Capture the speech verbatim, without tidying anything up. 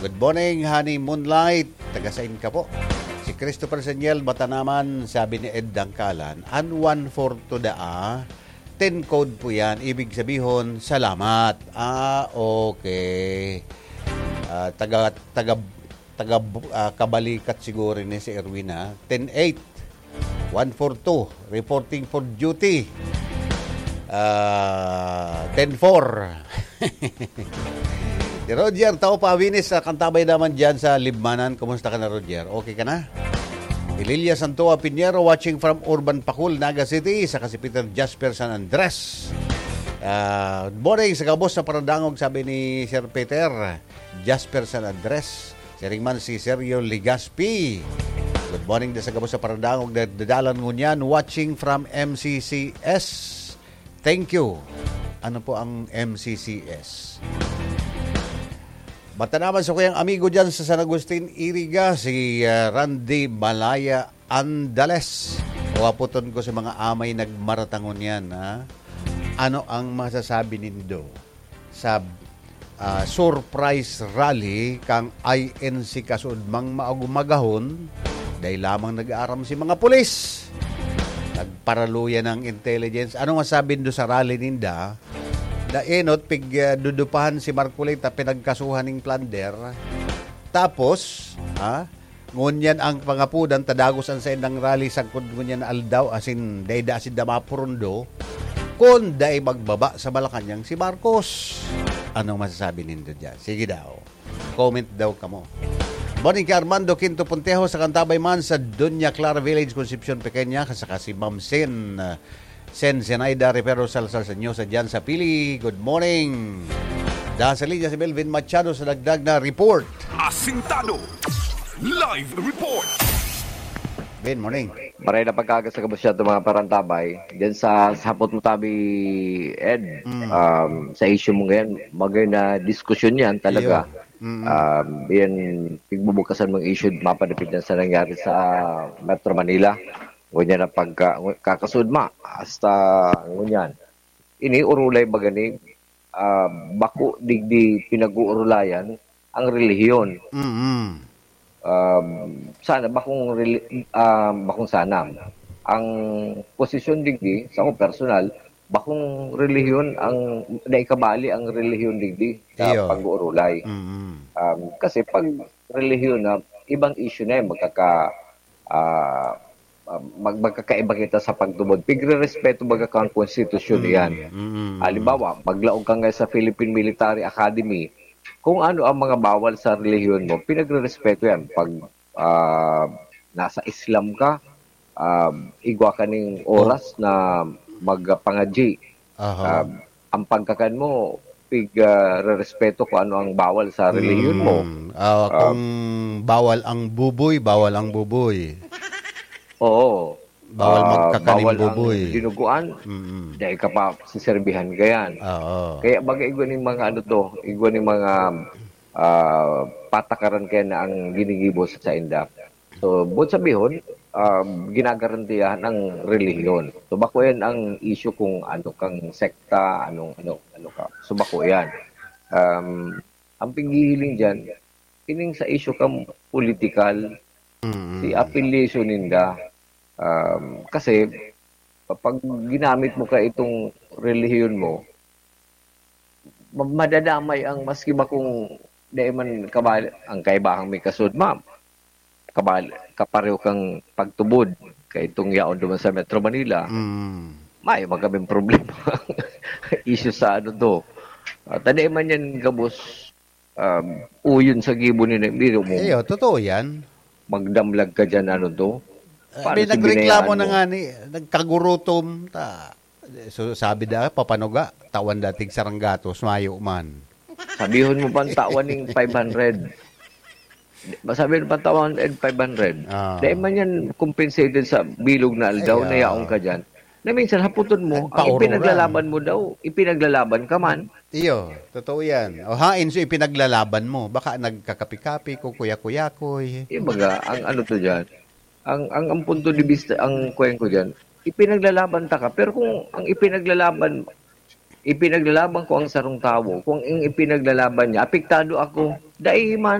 Good morning, Honey Moonlight. Taga sain ka po? Si Christopher Seniel Batanaman, sabi ni Ed Dangkalan, "An one four two daa, ten code po yan. Ibig sabihon, salamat." Ah, okay. Ah, taga, taga, taga, ah, Kabalikat siguro ni si Erwin, ha? Ten eight. One four two, reporting for duty. Ah, ten four. Si Roger Tao Pawinis, ah, kantabay naman dyan sa Libmanan. Kumusta ka na, Roger? Okay ka na? Ililia Santoa Piñero, watching from Urban Pacul, Naga City, saka si Peter Jasper San Andres. Ah, good morning sa gabos na paradangog, sabi ni Sir Peter Jasper San Andres. Siring man si Sergio Legaspi. Good morning da sa gabos sa paradangog na dadalan ngunyan, watching from M C C S. Thank you. Ano po ang M C C S? Matanaman sa kuyang amigo dyan sa San Agustin, Iriga, si, ah, Randy Malaya Andales. Waputon ko sa mga amay nagmaratangon yan, ha? Ano ang masasabi nindo sa, ah, surprise rally kang I N C Kasudmang maagumagahon? Dai lamang nag-aaram si mga pulis. Nagparaluya ng intelligence. Ano masabi nindo sa rally ninda? Daenot, pig, ah, dudupahan si Marcoleta, pinagkasuhan ning plunder. Tapos, ha? Ngunyan ang pangapudan, tadagos an saindang rally sagkod ngunyan na aldaw, asin dai da sinda mapurundo, kun dai magbaba sa Malacañang si Marcos. Anong masasabi nindo diyan? Sige daw. Comment daw kamo. Morning kay Armando Quinto Puntejo sa Cantabay man sa Doña Clara Village, Concepcion Pequeña, saka si Ma'am Sen, uh, Sen Zenaida Rivero Salsal Sanyosa diyan sa Pili. Good morning. Dahil sa linya si Melvin Machado sa dagdag na report. Asintado. Live report. Ben, morning. Maray na pagkaga sa kabusyato, mga parantabay. Diyan sa, sa hapot mo tabi, Ed, Mm. um, sa issue mo ngayon, magay na diskusyon yan talaga. Iyo. Mm. Um, yan, pigbubukasan mong issue, mapadapit na sa nangyari sa Metro Manila. Ngunyan ang pagka-, kakasud ma, hasta ngunyan. Ini urulay baga ni, ah, bako digdi pinag-uurulayan ang relihiyon. Mm. Um, sana bakong reli-, ah, bakong sana. Ang posisyon digdi, sa akong personal, bakong relihiyon ang, dai kabali ang relihiyon digdi sa Iyo. pag-uurulay. Mm. Um, kasi pag relihiyon na, ibang issue na yan, magkaka-, ah, ah, mag-, magkakaiba kita sa pagtubod. Pigre-respeto baga kan konstitusyon Mm, yan. mm, mm. Halimbawa, maglaog ka nga sa Philippine Military Academy, kung ano ang mga bawal sa relihiyon mo, pinagre-respeto yan. Pag, ah, nasa Islam ka, ah, igwa ka ning Oh. oras na magpangadji. Aha. Ah, ang pagkakan mo, pig, ah, rerespeto kung ano ang bawal sa relihiyon mo. Mm. Ah, Ah, kung bawal ang buboy, bawal ang buboy. Oo. Bawal Ah, magkakaning bawal ang buboy. dinuguan, Mm. dahil ka pa siserbihan ka yan. Oo. Kaya baga igwa ning mga ano to, igwa ning mga, ah, patakaran kaya na ang ginigibo sa inda. So, buot sabihon, um, ginagarantiyahan ang relihiyon. So, bako yan ang issue kung ano kang sekta, anong, ano, ano ka. So, bako yan. Um, ang pighihiling dyan, ining sa issue kang political, Mm. si affiliation ninda. Um, kasi, pag ginamit mo ka itong relihiyon mo, ma-, madadamay ang maski bakong dai man kabal-, ang kaibahang may kasud, ma'am. Kabal-, kapareho kang pagtubod kay itong yaon duman sa Metro Manila. Mm. May man kaming problema. Issue sa ano to. Ah, ta dai man yan gabos, um, uyon sa gibo ni Nagdiro mo. Iyo, totoo yan. Magdamlag ka dyan, ano to? Eh, Paano may nagreklamo binayaan na mo? nga ni, nagkagurutom, ta-, so, sabi da, papanuga, tawan dating saranggatos, mayo man. Sabihon mo pang tawan ning five hundred. Sabi mo pang tawan and five hundred. Ah. Dahil man yan compensated sa bilog na aldaw Ay, na ah. yaon ka dyan. Na minsan haputon mo, ang Nagpaurora. ipinaglalaban mo daw, ipinaglalaban ka man. Iyo, totoo yan. O hain so ipinaglalaban mo, baka nagkakapi-kapi, kukuya-kuyakoy. Yung baga, ang ano to dyan, ang, ang, ang punto de vista, ang kuweng ko dyan, ipinaglalaban ta ka. Pero kung ang ipinaglalaban, ipinaglalaban ko ang sarong tawo, kung ang ipinaglalaban niya, apektado ako, dai man.